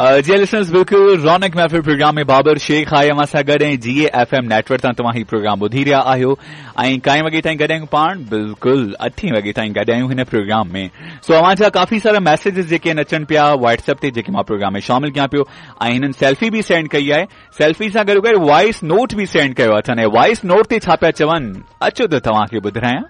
जी listeners, बिल्कुल रौनक महफ़िल programme में बाबर शेख आहे अव्हां सां गॾु ऐं जी एफ एम नेटवर्क तां तव्हां ही प्रोग्राम ॿुधी रहिया आहियो ऐं काए वॻे ताईं गॾु आहियूं पाण? बिल्कुल 8 वॻे ताईं गॾु आहियूं हिन प्रोग्राम में। सो अव्हां जा काफ़ी सारा मैसेजेस जेके आहिनि अचनि पिया व्हाट्सएप ते, जेके मां प्रोग्राम में शामिल कयां पियो ऐं हिननि सेल्फी बि सेंड कई आहे, सेल्फी सां गॾो गॾु वॉइस नोट बि सेंड कयो अथनि ऐं वॉइस नोट ते छा पिया चवनि, अचो त तव्हांखे ॿुधायां।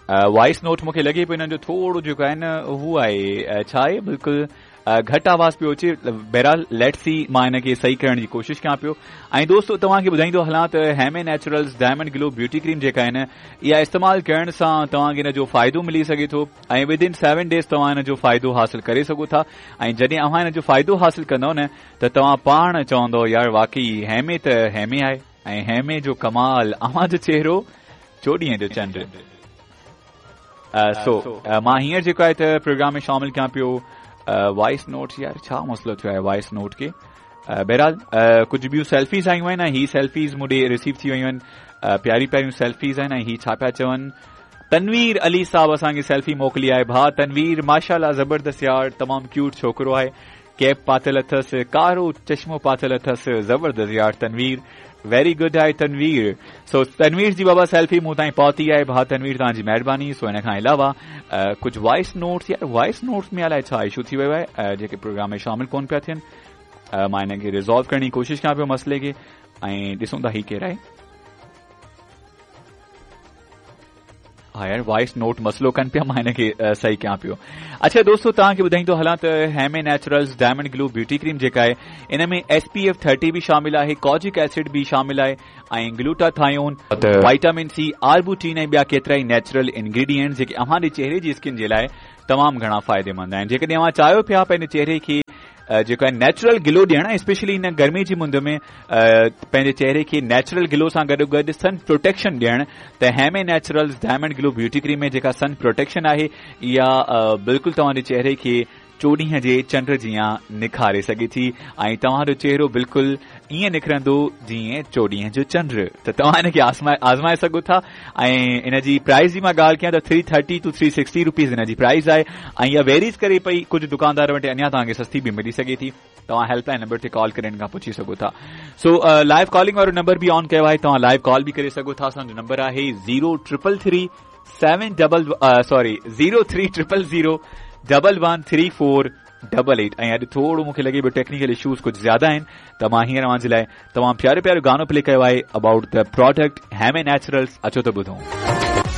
वॉइस नोट मूंखे लॻे पियो हिननि जो थोरो जेको आहे न उहो आहे, छा आहे, बिल्कुलु घटि आवाज़ पियो अचे। बहरहाल let see, मां हिनखे सही करण जी कोशिशि कयां पियो। ऐं दोस्तो तव्हांखे ॿुधाईंदो हलां त Heme naturals diamond glow beauty cream जेका आहे न, इहा इस्तेमालु करण सां तव्हांखे हिन जो फ़ाइदो मिली सघे थो ऐं विद इन 7 डेज़ तव्हां हिन जो फ़ाइदो हासिल करे सघो था। ऐं जॾहिं अव्हां हिन जो फ़ाइदो हासिल कंदव न त तव्हां पाण चवंदव यार वाकई हेमे त हेमे आहे ऐं हेमे जो कमाल, अव्हां जो चहिरो 14 जो चंड। सो मां हींअर जेको आहे त प्रोग्राम में शामिल कयां पियो वॉइस नोट। यार छा मसइलो थियो आहे वॉइस नोट खे? बहरहाल कुझु ॿियूं सेल्फीज़ आयूं आहिनि ऐं ही सेल्फीज़ मूं ॾे रिसीव थी वयूं आहिनि, प्यारी प्यारियूं सेल्फीज़ आहिनि ऐं ही छा पिया चवनि। तनवीर अली साहब असांखे सेल्फी मोकिली आहे। भाउ तनवीर माशाअल्लाह ज़बरदस्त यार, तमामु क्यूट छोकिरो आहे, कैप पातिल अथसि, कारो चश्मो पातिल अथसि, ज़बरदस्त यार तनवीर, वेरी गुड आहे तनवीर। सो तनवीर जी बाबा सेल्फी मूं ताईं पहुती आहे, भाउ तनवीर तव्हांजी महिरबानी। सो हिन खां अलावा कुझु वॉइस नोट्स, यार वॉइस नोट्स में अलाए छा इशू थी वियो आहे, जेके प्रोग्राम में शामिल कोन पिया थियनि। मां हिनखे रिज़ॉल्व करण जी कोशिशि कयां पियो मसइले खे ऐं ॾिसूं था ही केरु आहे। हा यार वॉइस नोट मसइलो कनि पिया, मां हिनखे सही कयां पियो। अच्छा दोस्तो तव्हांखे ॿुधाईंदो हलां त Heme naturals diamond glow beauty cream जेका आहे इन में SPF 30 बि शामिल आहे, कॉजिक एसिड बि शामिल आहे ऐं ग्लूटाथायोन, वाइटामिन सी, आर्बुटीन ऐं ॿिया केतिरा ई नेचुरल इंग्रीडियंट्स जेके अव्हांजे चेहरे जी स्किन जे लाइ तमामु घणा फ़ाइदेमंद आहिनि। जेकॾहिं अव्हां चाहियो पिया पंहिंजे चेहरे खे जेको आहे नेचुरल ग्लो ॾियणु, स्पेशली हिन गर्मी जी मुंद में पंहिंजे चेहरे खे नेचुरल ग्लो सां गॾो गॾु सन प्रोटेक्शन ॾियणु, त Heme naturals diamond glow beauty cream में जेका सन प्रोटेक्शन आहे इहा बिल्कुलु तव्हांजे चेहरे खे 14 जे चंड जीअं निखारे सघे थी ऐं तव्हांजो चेहरो बिल्कुलु ईअं निकिरंदो जीअं 14 जो चंड। त तव्हां हिनखे आज़माए सघो था। ऐं इन जी प्राइस जी मां ॻाल्हि कयां त 330 टू 360 रुपीज़ हिन जी प्राइस आहे ऐं इहा वेरीज़ करे पई, कुझु दुकानदार वटि अञा तव्हांखे सस्ती बि मिली सघे थी। तव्हां हेल्पलाइन नंबर ते कॉल करे हिन खां पुछी सघो था। सो लाइव कॉलिंग वारो नंबर बि ऑन कयो आहे, तव्हां लाइव कॉल बि करे सघो था। असांजो नंबर आहे 0333 7 डबल सॉरी 0300 113488। ऐं अॼु थोरो मूंखे लॻे पियो टेक्निकल इशूज़ कुझु ज़्यादा आहिनि, त मां हींअर अव्हां जे लाइ तमामु प्यारो प्यारो गानो प्ले कयो आहे about the product Heme naturals. अचो त ॿुधूं।